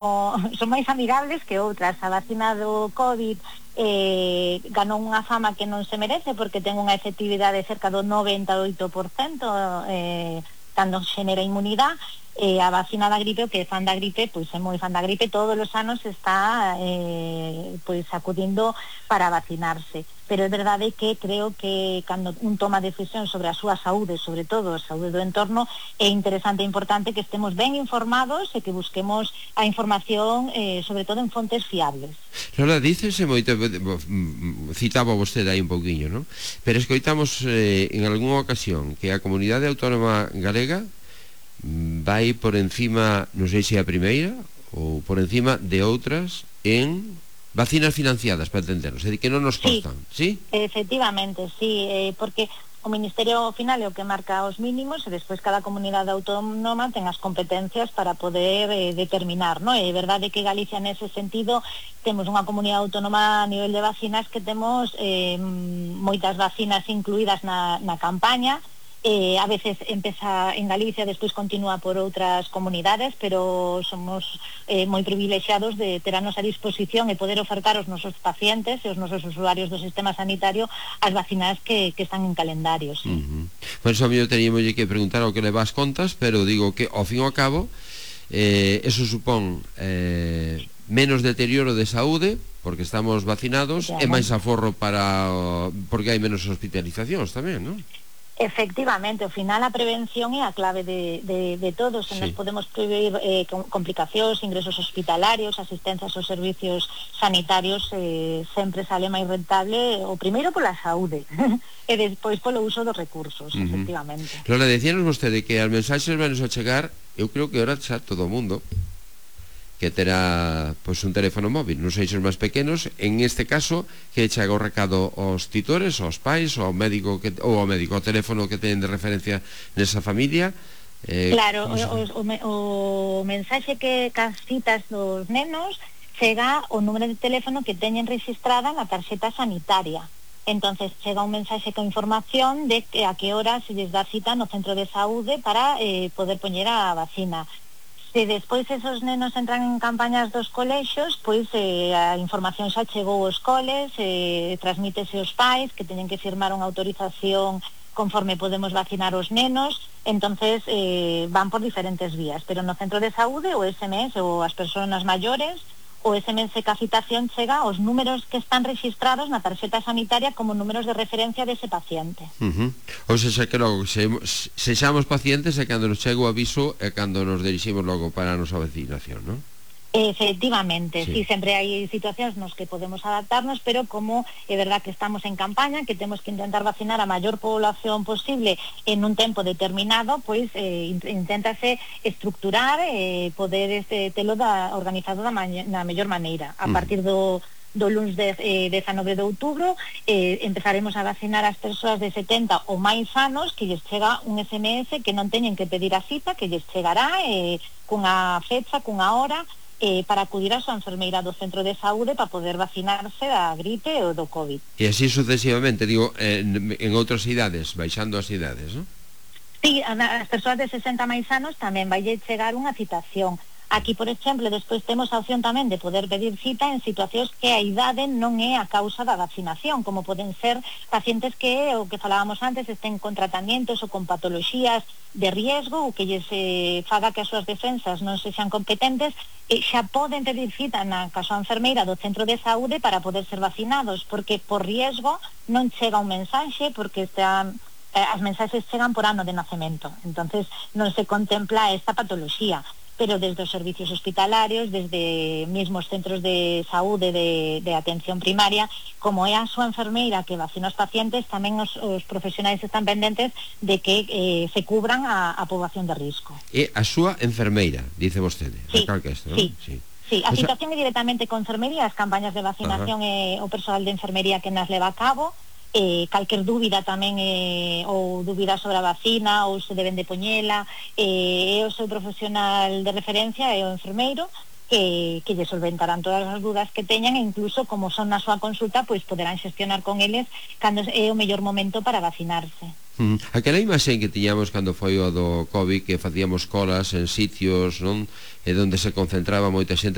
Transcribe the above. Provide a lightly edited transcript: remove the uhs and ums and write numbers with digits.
son máis amigables que outras. A vacina do COVID ganou unha fama que non se merece porque ten unha efectividade cerca do 98% cando xenera inmunidade. A vacina da gripe, o que é fan da gripe, pois é moi fan da gripe, todos os anos está pois acudindo para vacinarse. Pero é verdade que creo que cando un toma decisión sobre a súa saúde, sobre todo a saúde do entorno, é interesante e importante que estemos ben informados e que busquemos a información sobre todo en fontes fiables. Lola, dícese moito, citaba vostede aí un pouquiño, non? Pero escoitamos en algunha ocasión que a Comunidade Autónoma Galega vai por encima, non sei se a primeira ou por encima de outras en vacinas financiadas, para entendernos, é dicir, que non nos costan, sí? Efectivamente, sí, porque o Ministerio ao final é o que marca os mínimos e despois cada comunidade autónoma ten as competencias para poder determinar, non? É verdade que Galicia nese sentido temos unha comunidade autónoma a nivel de vacinas que temos moitas vacinas incluídas na campaña. A veces empeza en Galicia, despois continúa por outras comunidades, pero somos moi privilexiados de ter a nosa disposición e poder ofertar aos nosos pacientes e aos nosos usuarios do sistema sanitario as vacinas que están en calendarios. Por iso a mí teníamos que preguntar ao que leva as contas, pero digo que ao fin e ao cabo eso supón menos deterioro de saúde porque estamos vacinados e máis aforro porque hai menos hospitalizacións tamén, non? Efectivamente, ao final a prevención é a clave de todos. Nos podemos prever complicacións, ingresos hospitalarios, asistencias aos servicios sanitarios, sempre sale máis rentable o primeiro pola saúde e despois polo uso dos recursos, efectivamente. Lola, decíanos vostede que as mensaxes van a chegar, eu creo que ahora xa todo o mundo que terá pois un teléfono móvil, non sei se os máis pequenos, en este caso que chega o recado aos titores, aos pais, ao médico ou ao médico, ao teléfono que ten de referencia nesa familia. Claro, o mensaxe que cas citas dos nenos chega o número de teléfono que teñen registrada na tarxeta sanitaria. Entonces chega un mensaxe con información de que a que hora se lles dá cita no centro de saúde para poder poñer a vacina. Se despois esos nenos entran en campañas dos colexios, pois a información xa chegou aos coles, transmítese aos pais que teñen que firmar unha autorización conforme podemos vacinar os nenos. Entonces van por diferentes vías, pero no centro de saúde o SMS ou as persoas maiores, o SMS que a citación chega aos números que están registrados na tarxeta sanitaria como números de referencia dese paciente. Ou seja, que logo sexamos pacientes e cando nos chega o aviso e cando nos diriximos logo para a nosa vacinación, non? Efectivamente, sí, sempre hai situacións nos que podemos adaptarnos, pero como é verdad que estamos en campaña, que temos que intentar vacinar a maior población posible en un tempo determinado, pois inténtase estructurar poder telo organizado na mellor maneira. A partir do luns 19 de outubro empezaremos a vacinar as persoas de 70 ou máis anos que lles chega un SMS que non teñen que pedir a cita, que lles chegará cunha fecha, cunha hora, para acudir a súa enfermeira do centro de saúde para poder vacinarse da gripe ou do COVID. E así sucesivamente, digo, en outras idades, baixando as idades, non? Sí, as persoas de 60 máis anos tamén vai chegar unha citación. Aquí, por exemplo, despois temos a opción tamén de poder pedir cita en situacións que a idade non é a causa da vacinación, como poden ser pacientes que, o que falábamos antes, estén con tratamientos ou con patoloxías de riesgo ou que lles faga que as súas defensas non sexan competentes, e xa poden pedir cita na casa enfermeira do centro de saúde para poder ser vacinados, porque por riesgo non chega un mensaxe, porque as mensaxes chegan por ano de nacemento, entonces non se contempla esta patoloxía. Pero desde os servicios hospitalarios, desde mesmos centros de saúde de atención primaria, como é a súa enfermeira que vacina os pacientes, tamén os profesionais están pendentes de que se cubran a poboación de risco. E a súa enfermeira, dice vostede, sí, esto, sí, ¿no? Sí, a situación é directamente con enfermería, as campañas de vacinación e o persoal de enfermería que nas leva a cabo. Calquer dúbida tamén ou dúbida sobre a vacina ou se deben de poñela, é o seu profesional de referencia, é o enfermeiro que lle solventarán todas as dúdas que teñan, e incluso como son na súa consulta, pois poderán xestionar con eles cando é o mellor momento para vacinarse. Aquela imaxe que tiñamos cando foi o do COVID, que facíamos colas en sitios, non? E onde se concentraba moita xente